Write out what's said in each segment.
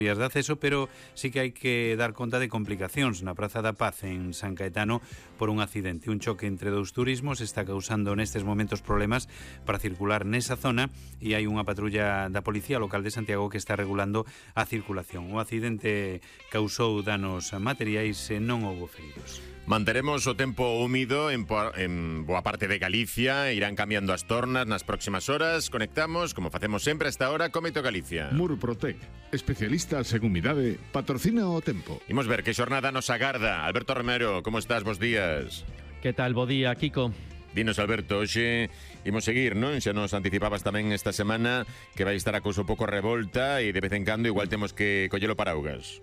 vías de acceso, pero sí que hai que dar conta de complicacións na Praza da Paz en San Caetano por un accidente. Un choque entre dous turismos está causando nestes momentos problemas para circular nesa zona e hai unha patrulla da Policía Local de Santiago que está regulando a circulación. O accidente causou danos materiais e non houbo feridos. Manteremos o tempo húmido en boa parte de Galicia. Irán cambiando as tornas nas próximas horas. Conectamos, como facemos sempre hasta ahora, con Meto Galicia. Murprotec, especialistas en humidade, patrocina o tempo. Imos ver que xornada nos agarda. Alberto Romero, como estás? Bos días. Que tal? Bo día, Kiko. Dinos, Alberto, hoxe imos seguir, non? Xa nos anticipabas tamén esta semana que vai estar a cousa un pouco revolta e de vez en cando igual temos que collelo paraugas.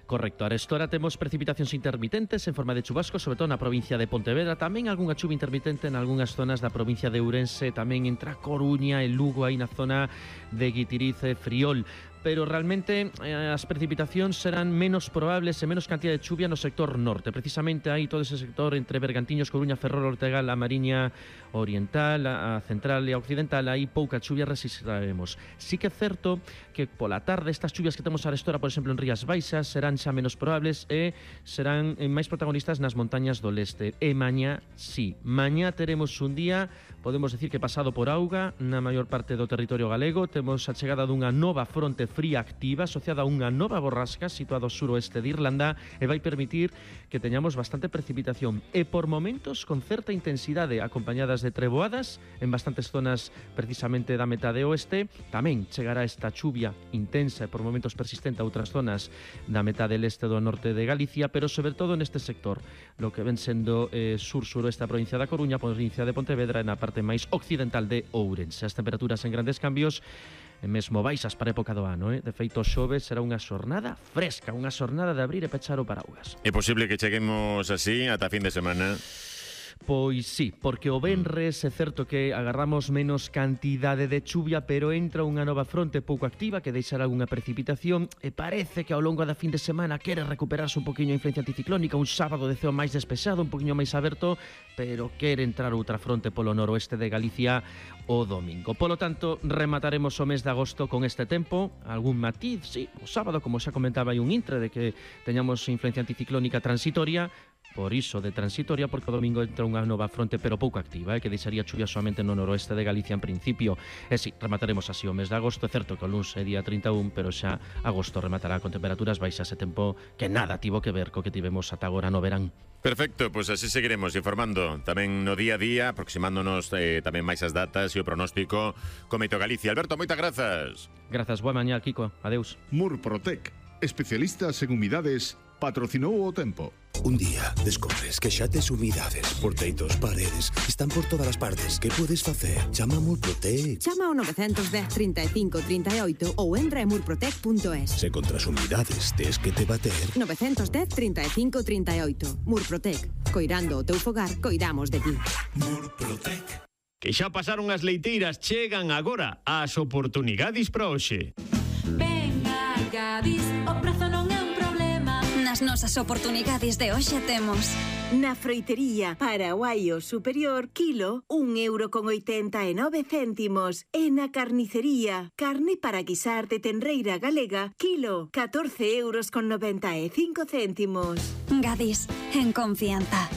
Correcto, arestora temos precipitacións intermitentes en forma de chubasco, sobre todo na provincia de Pontevedra, tamén algunha chuva intermitente en algunhas zonas da provincia de Ourense, tamén entre a Coruña e Lugo, aí na zona de Guitiriz e Friol. Pero realmente as precipitacións serán menos probables e menos cantidad de chuvia no sector norte. Precisamente aí todo ese sector entre Bergantiños, Coruña, Ferrol, Ortegal, a Mariña Oriental, a Central e a Occidental, aí pouca chuvia resistiremos. Sí que é certo que pola tarde estas chuvias que temos arestora, por exemplo, en Rías Baixas, serán xa menos probables e serán máis protagonistas nas montañas do leste. E mañá, sí, mañá teremos un día, podemos decir que pasado por auga na maior parte do territorio galego. Temos a chegada dunha nova fronte fría activa asociada a unha nova borrasca situada ao suroeste de Irlanda e vai permitir que teñamos bastante precipitación e por momentos con certa intensidade acompañadas de treboadas en bastantes zonas precisamente da metade oeste. Tamén chegará esta chuvia intensa e por momentos persistente a outras zonas da metade leste do norte de Galicia, pero sobre todo neste sector, lo que ven sendo sur-suroeste a provincia da Coruña, provincia de Pontevedra e na parte máis occidental de Ourense. As temperaturas en grandes cambios e mesmo baixas para a época do ano, De feito, xove será unha xornada fresca, unha xornada de abrir e pechar o paraugas. É posible que cheguemos así ata fin de semana? Pois sí, porque o venres é certo que agarramos menos cantidade de chuvia, pero entra unha nova fronte pouco activa que deixará algunha precipitación e parece que ao longo da fin de semana quere recuperarse un poquinho a influencia anticiclónica, un sábado de ceo máis despexado, un poquinho máis aberto, pero quere entrar outra fronte polo noroeste de Galicia o domingo. Polo tanto, remataremos o mes de agosto con este tempo, algún matiz, sí, o sábado, como xa comentaba, hai un intre de que teñamos influencia anticiclónica transitoria, por iso de transitoria, porque o domingo entra unha nova fronte pero pouco activa, que deixaría chuvia somente no noroeste de Galicia en principio. E si, remataremos así o mes de agosto. É certo que o luns é día 31, pero xa agosto rematará con temperaturas baixas e tempo que nada tivo que ver co que tivemos ata agora no verán. Perfecto, pois así seguiremos informando tamén no día a día, aproximándonos tamén máis as datas e o pronóstico con Meto Galicia. Alberto, moitas grazas. Grazas, boa mañá, Kiko. Adeus. Murprotec, especialistas en humidades, patrocinou o tempo. Un día descobres que xa tes humidades por teitos, paredes, están por todas as partes. Que podes facer? Chama a Murprotec. Chama ao 910 35 38 ou entra en murprotec.es. Se contra as humidades tes que te bater. 910 35 38. Murprotec. Coirando o teu fogar, coidamos de ti. Murprotec. Que xa pasaron as leiteiras, chegan agora as oportunidades para hoxe. Venga, Gadis, o prezo non é un problema. Nas nosas oportunidades de hoxe temos na froitería, paraguaio superior, kilo, 1,89 €. E na carnicería, carne para guisar de tenreira galega, kilo, 14,95 €. Gadis, en confianza.